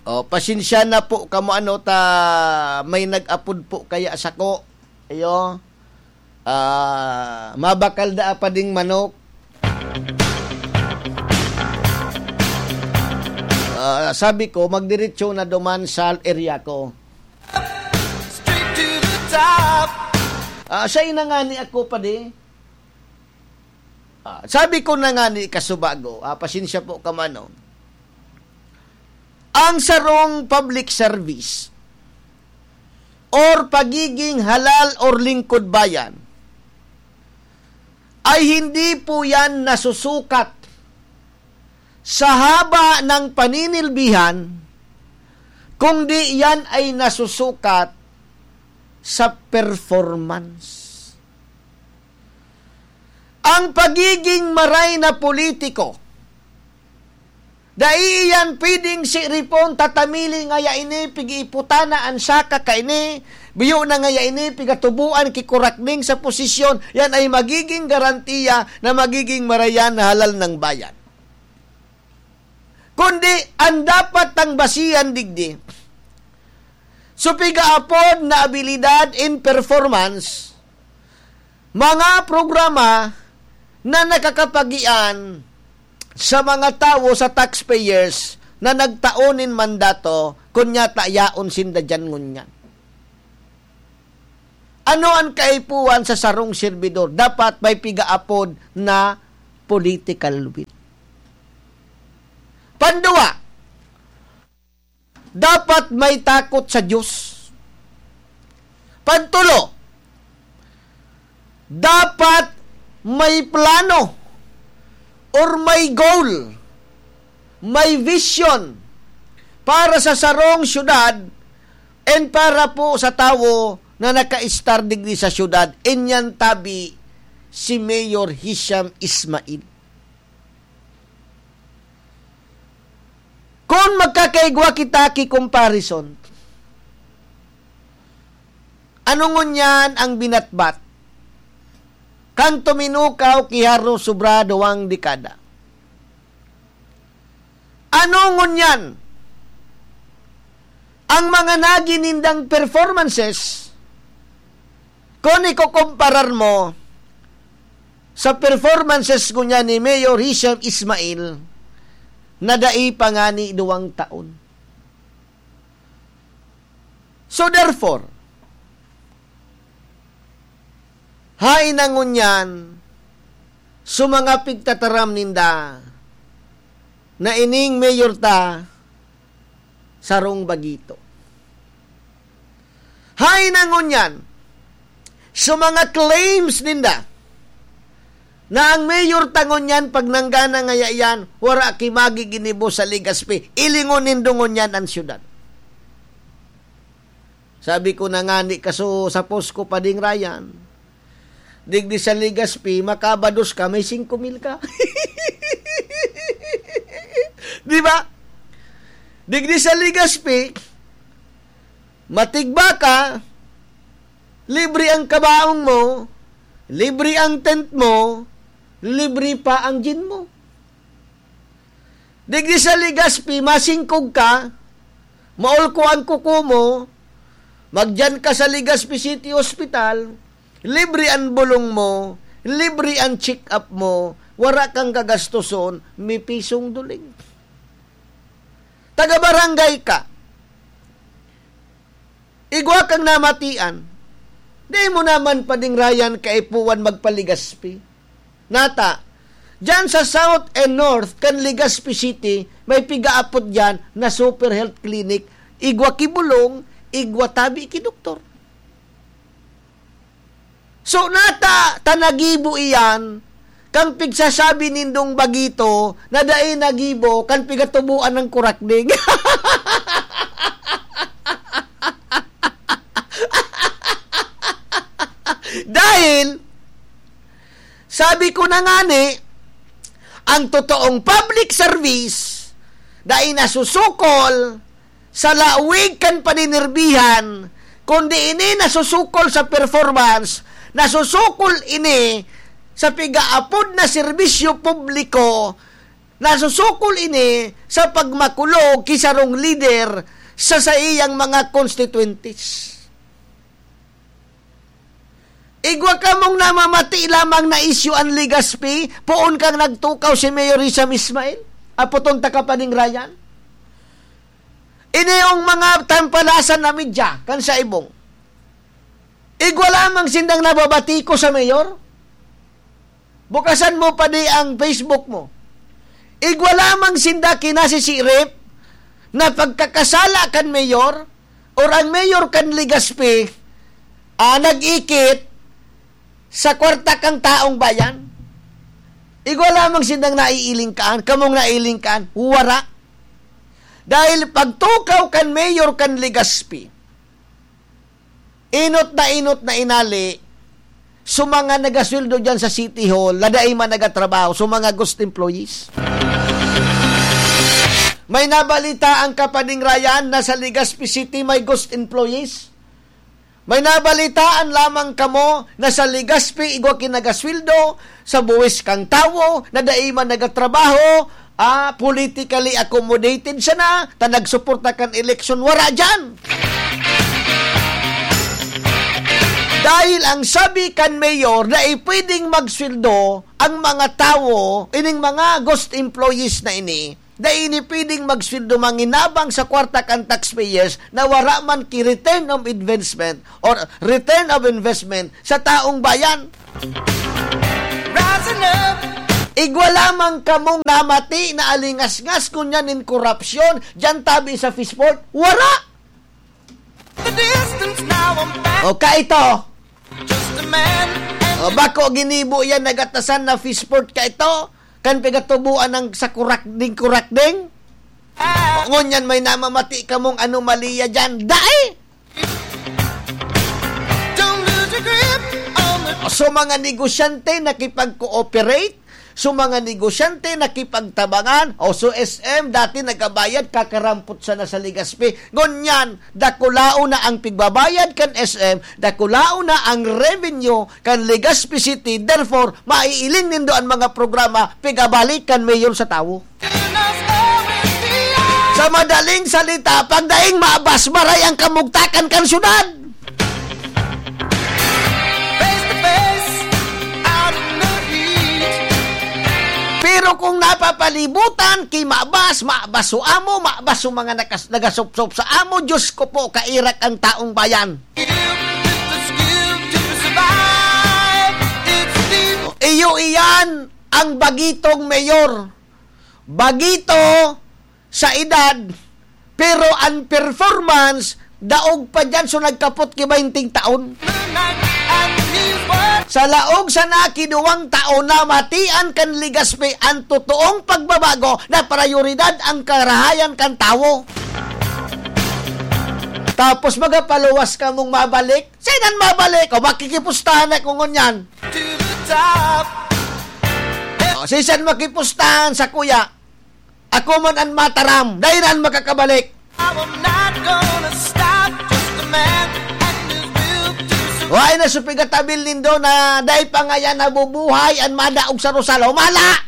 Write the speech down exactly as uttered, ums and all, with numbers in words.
Oh, pasensya na po kamo ano ta may nag-apod po kaya sako. Iyo. Ah, mabakal da apa ding manok. Ah, sabi ko, magdiretso na duman sa area ko. Straight to the top. Ah, siya inangani ako pa di. Ah, sabi ko na nga ni kasubago, ah, pasensya po ka man, no? Ang sarong public service or pagiging halal or lingkod bayan ay hindi po yan nasusukat sa haba ng paninilbihan, kundi yan ay nasusukat sa performance. Ang pagiging maray na politiko, dai iyan pwedeng siripon, tatamili ngaya ini, pig-iiputana an saka kaini, biyo na ngaya ini, pigatuboan ki kurakning sa posisyon, yan ay magiging garantiya na magiging marayan na halal ng bayan. Kundi, ang dapat tang basihan digdi, so pigaapod na abilidad in performance, mga programa na nakakapagian sa mga tawo, sa taxpayers na nagtao nin mandato, kun nyata yaon sinda diyan ngunyan. Ano an kaipuhan sa sarong serbidor? Dapat may pigaapod na political will. Pandua, dapat may takot sa Diyos. Pantulo, dapat may plano or may goal, may vision para sa sarong syudad and para po sa tawo na nakaistar digdi sa syudad. Inyan tabi si Mayor Hisham Ismail. Kun magkakaigwa kita ki comparison, ano ngunyan ang binatbat kan tuminukaw ki haros sobra duwang dekada? Ano ngunyan ang mga nagi nindang performances kun ikokomparar mo sa performances ngunyan ni Mayor Hisham Ismail na dai pa ngani duwang taon? So therefore, haen na ngunyan so mga pigtataram ninda na ining mayor ta sarong bagito. Haen na ngunyan so mga claims ninda na ang mayor ta ngunyan, pag nanggana ngaya iyan, wara ki magiginibo sa Legazpi, ilingon nindo ngunyan an syudad. Sabi ko na ngani kaso sa post ko pa ding Ryan, digdi sa Legazpi, makabados ka, may singko mil ka. Di ba? Digdi sa Legazpi, matigba ka, libre ang kabaong mo, libre ang tent mo, libre pa ang gin mo. Digdi sa Legazpi, masingkog ka, maulko ang kuko mo, magdiyan ka sa Legazpi City Hospital, libre an bulong mo, libre an check-up mo, wara kang gagastoson, may pisong duling. Taga-barangay ka, igwa kang namatian, di mo naman pa ding Ryan kaipuhan magpa-Legazpi. Nata, diyan sa South and North kan Legazpi City, may pigaapod diyan na super health clinic, igwa ki bulong, igwa tabi ki doktor. So, nata, ta nagibo iyan, kan pigsasabi nindong bagito na dai nagibo kan pigatuboan ng kurakning. Dahil, sabi ko na ngani, ang totoong public service dai nasusukol sa lawig kan paninirbihan, kundi ini nasusukol sa performance, nasusukol ini sa pigaapod na serbisyo publiko Nasusukol ini sa pagmakulog ki sarong lider sa saiyang mga konstituyentes. Igwa kamong namamati lamang na isyu an Legazpi, poon kang nagtukaw si Mayor Hisham Ismail, apoton ta ka pa ning Ryan. Ini yung mga tampalasan na media, kan sa ibong. Igwa lamang sindang nababati ko sa mayor. Bukasan mo pa di ang Facebook mo. Igwa lamang sinda kinasisirip na pagkakasala kan mayor or ang mayor kan Legazpi, ah, nag-ikit sa kwarta kan taong bayan. Igwa lamang sindang naiiling kaan, kamong naiiling kaan, wara. Dahil pagtukaw kan mayor kan Legazpi, inot na inot na inali, so mga nagasweldo dyan sa City Hall, na dai man nagatrabaho, so mga ghost employees. May nabalita ang kapading Ryan na sa Legazpi City may ghost employees? May nabalitaan lamang kamo na sa Legazpi igwa kinagasweldo sa buwis kang tawo na dai man nagatrabaho, ah, politically accommodated siya na, ta nagsuporta kan eleksyon, wara diyan. Dahil ang sabi kan mayor, dai pwedeng magsweldo ang mga tawo, ining mga ghost employees na ini, dai ini pwedeng magsweldo manginabang sa kwarta kan taxpayers na wara man ki return of investment or return of investment sa taong bayan. Rising up. Igwa lamang kamong namati na alingasngas ngunyan nin korupsyon, diyan tabi sa Fishport, wara! The distance now I'm back. O, kaito. Just a man and O, bako ginibo yan, nagatasan na Fishport kaito. Kan pigatubuan ng sa kurakding-kurakding. Ah. O, ngunyan may namamati kamong anomalya dyan. Dai! Don't lose your grip on the O, so, mga negosyante nakipag-cooperate, so, mga negosyante nakipagtabangan, o, so, S M dati nagabayad, kakarampot sana sa Legazpi. Ngunyan, dakulaon na ang pigbabayad kan S M, dakulaon na ang revenue kan Legazpi City, therefore, maiiling nindo an mga programa pigabalik kan mayor sa tawo. Sa madaling salita, pag daing maabas, maray ang kamugtakan kan syudad. Face to face, out in the heat. Pero kung napapalibutan ki maabas, maabas so amo, maabas so mga nakas-, nagasopsop sa amo, Diyos ko po, kairak ang taong bayan. Iyo iyan ang bagitong mayor. Bagito sa edad, pero ang performance, daog pa dyan, so nagkapot ki baynting taon. Sa laog sana ki duwang taon, namatian kan Legazpi ang totoong pagbabago na prayoridad ang karahayan kan tawo. Tapos magapaluwas kamong mabalik, sinan mabalik? O, makikipustahan ako ngunyan. To the top. O, sisan makipustahan sa kuya? Ako man an mataram, dai na an makakabalik. I will not gonna stop, just a man and his will to survive. Wala na sa pigatabil nindo na dai pa ngayan nabubuhay an madaog sa Rosal. Humala!